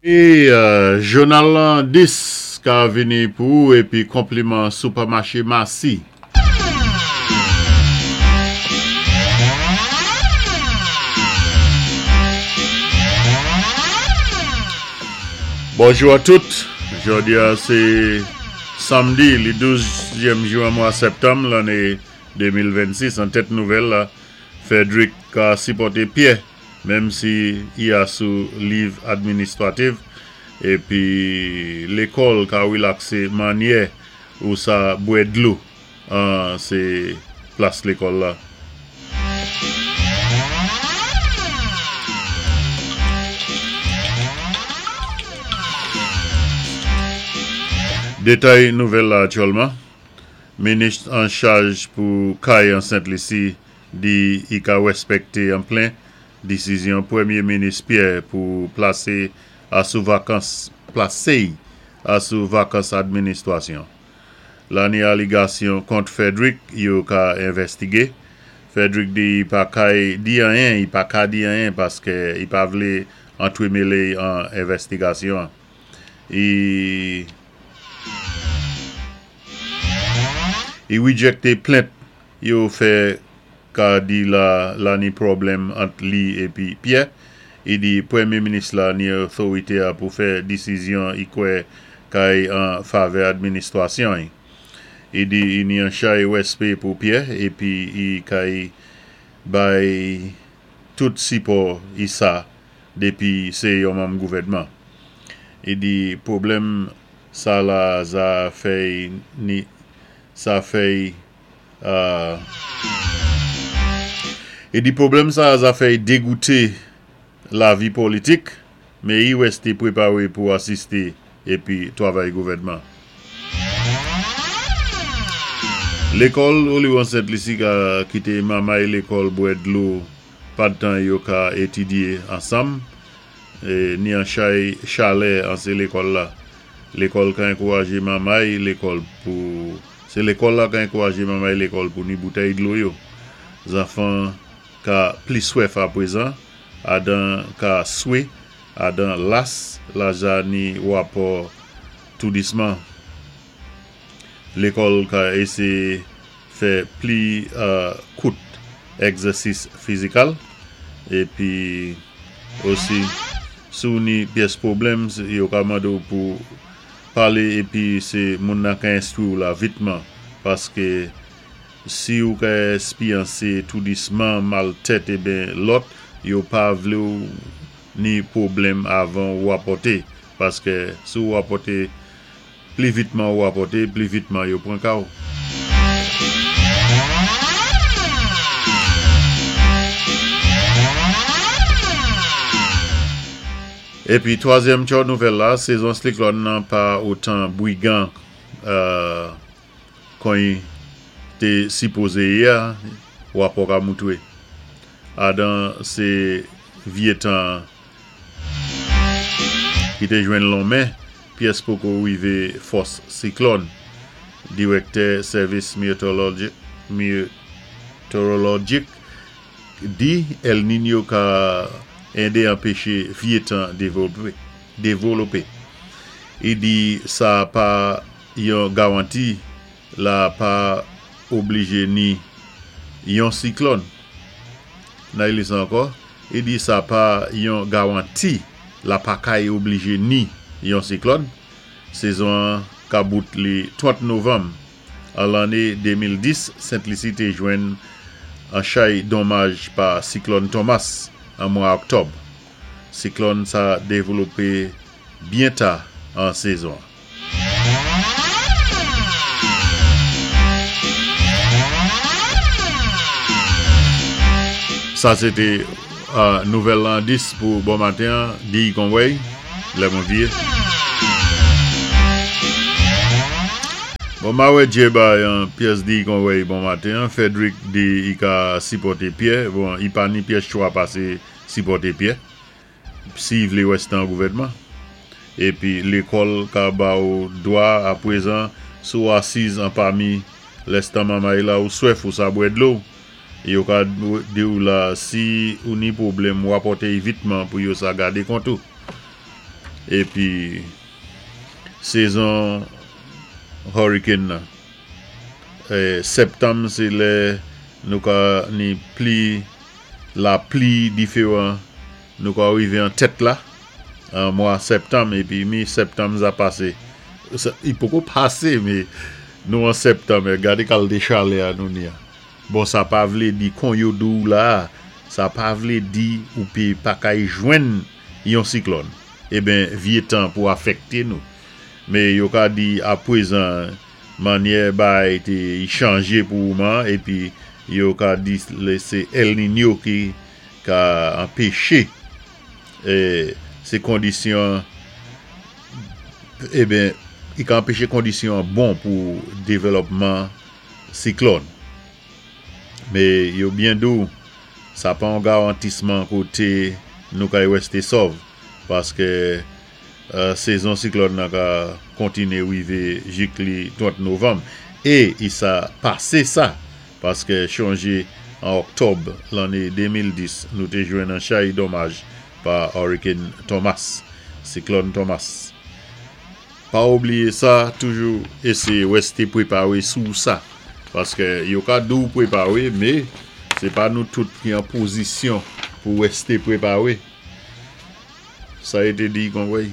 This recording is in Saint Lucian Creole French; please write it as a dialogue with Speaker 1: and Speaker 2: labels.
Speaker 1: E jounal lan 10 ka vini pou ou epi konpliman Supermarché Massy. Bonjou a tout, jodi a se samdi li 12 zyèm jou an mwa septanm lanne 2026 an tèt nouvèl la Frederick ka sipòte Pyè Menm si I a sou liv administrativ epi lekòl ka rilakse manyè ou sa bwè dlo an se plas lekòl la. Detay nouvèl la aktyèlman, Minis an chaj pou kay an Sent Lisi Di i ka rèspèkte an plen desizyon Premye Minis Pierre pou plase a sou vakans plase a sou vakans administrasyon. La ni aligasyon kont Frederick yo ka envèstige. Frederick di i pa kay di anyen i pa ka di anyen paske i pa vle antremele an envèstigasyon an. I i rejecte plent Yo fè ka di la la ni pwoblèm ant li epi Pyè. I di premye minis la ni otorite a pou fè desizyon i kwè kay an favè administrasyon i. I di i ni an chay rèspè pou Pyè epi i kay bay tout sipò i sa depi se yon manm gouvènman. I di pwoblèm sa la za fè i ni Sa fèy E di pwoblèm sa a zafèy degoute lavi politik, men i rèste prepare pou asiste epi twavay gouvènman. Lekòl Oliwon Sent Lisi ka kite mamay lekòl bwè dlo padtan yo ka etidye ansanm, ni an chay chalè an se lekòl la. Lekòl ka enkouraje mamay lekòl pou Se lekòl la ka enkouraje mamay lekòl pou ni boutèy dlo yo. Zanfan ka pli swèf aprezan, adan ka swe, adan las, laja ni wapò toudisman. Lekòl ka eseye fè pli kout egzèsis fizikal epi osi si w ni pyès pwoblèm yo ka mande w pou pale epi se moun nan ka enstwi w la vitman paske si w ka espyanse toudisman mal tèt eben lòt yo pa vle w ni pwoblèm avan w rapòte paske si w rapòte Pli vitman ou rapòte, pli vitman yo pran ka w. Epi twazyèm tchò nouvèl la, sezon sliklòn nan pa otan brigan kon te sipoze ye a, rapò ka moutre. Adan se vye tan ki te jwenn lonmen pyès poko rive fòs siklòn. Dirèktè Sèvis Meteorolojik di El Niño ka ede anpeche vye tan devolope. I di sa pa yon garanti la pa oblije ni yon siklòn. Nan li sa ankò, i di sa pa yon garanti la pa kay oblije ni yon siklòn. Sezon an ka bout li 30 novanm. An lanne 2010, Sent Lisi te jwenn an chay donmaj pa siklòn Thomas an mwa oktòb. Siklòn sa devlope byen ta an sezon an. Sa se te nouvèl lan 10 pou bon maten an, Guy Conway, lè mwen vye. Bon ma wè Dye bay an pyès Guy Conway bon maten an, Frederick di i ka sipòte Pyè, bon i pa ni pyès chwa pase sipòte Pyè. Si vle wè se nan gouvènman. Epi lekòl ka ba ou dwa aprezan si w asiz anpami lès tan manmay la ou swèf ou sa bwè dlo. Yo ka di w la si ou ni pwoblèm rapòte y vitman pou yo sa gade kont ou. Épi sézon hurricane nan. Sèptanm sé lè nou ka ni pli lapli diféwan, nou ka rivé an tèt la an mwa sèptanm, épi mi sèptanm sa pasé. I poko pasé, mé nou an sèptanm, gadé kalité chalè a nou ni a. Bon, sa pa vlé di kon yo di-w la, sa pa vlé di ou pé pa kay jwenn yon siklòn. Eben vyé tan pou afèkté nou. Mé yo ka di apwézan mannyè bay té chanjé pou ouman, épi yo ka di sé El Niño ki ka anpéché sé kondisyon, eben i ka anpéché kondisyon bon pou dévélopman siklòn. Mé yo byen di-w sa pa yon garantisman koté nou kay wèsté sòv, paské sézon siklòn nan ka kontiné rivé jik li 30 novanm, é i sa pasé sa, paské chonjé an òktòb lanné 2010 nou té jwenn an chay donmaj pa Hurricane Thomas, siklòn Thomas. Pa oubliyé sa, toujou éséyé wèsté pwépawé sou sa, paské yo ka di-w pwépawé, mé sé pa nou tout ki an pozisyon pou wèsté pwépawé. Sa yo té di konvwèy.